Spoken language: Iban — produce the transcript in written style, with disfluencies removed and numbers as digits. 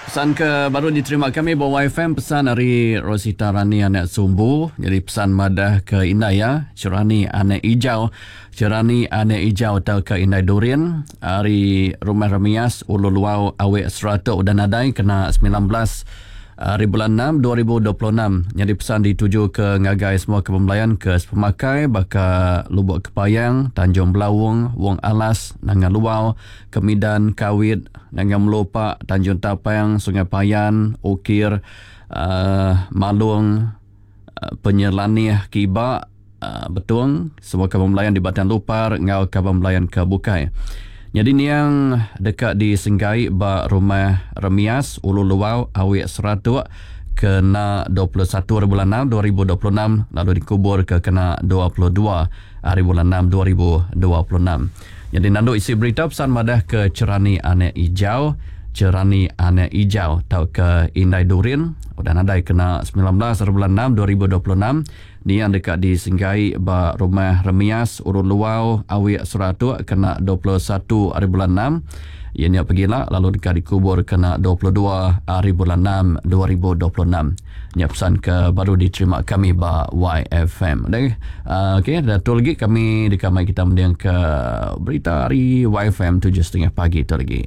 Pesan ke baru diterima kami ba YFM pesan ari Rosita Rani anak Sumbu jadi pesan madah ke indai iya Cerani anak Ijau Cerani anak Ijau tauka indai Durin ari Rumah Remias Ulu Luau Awik Seratok udah nadai kena 19 Ari bulan 6 2026 nyadi pesan dituju ke ngagai semua ke bemelayan ke sepemakai baka Lubok Kepayang, Tanjung Belaung, Wong Alas, Nanga Luau, Kemidan, Kawit, Nanga Melupa, Tanjung Tapang, Sungai Payan, Ukir, uh, Malung, uh, Penyelanih Kiba, uh, Betong, semua kaban belayan di Batang Lupar enggau kaban belayan ke bukai. Nyadi niang deka disenggai ba Rumah Remias, Ulu Luau, Awik Seratok kena 21 hari bulan 6 2026 lalu dikubur ke kena 22 hari bulan 6 2026. Nyadi nandu isi berita pesan madah ke Cerani Anak Ijau, Cerani Anak Ijau tauka Indai Durin udah nadai kena 19 hari bulan 6 2026 Niang deka disenggai ba Rumah Remias, Urun Luau, Awik Seratok kena 21 hari bulan 6 iya nya pegila lalu deka dikubur kena 22 hari bulan 6 2026. Nya pesan ke baru diterima kami ba YFM. Deh, uh, okey, dah tu lagi kami deka mai kita mending ke berita hari YFM 7.30 pagi tu lagi.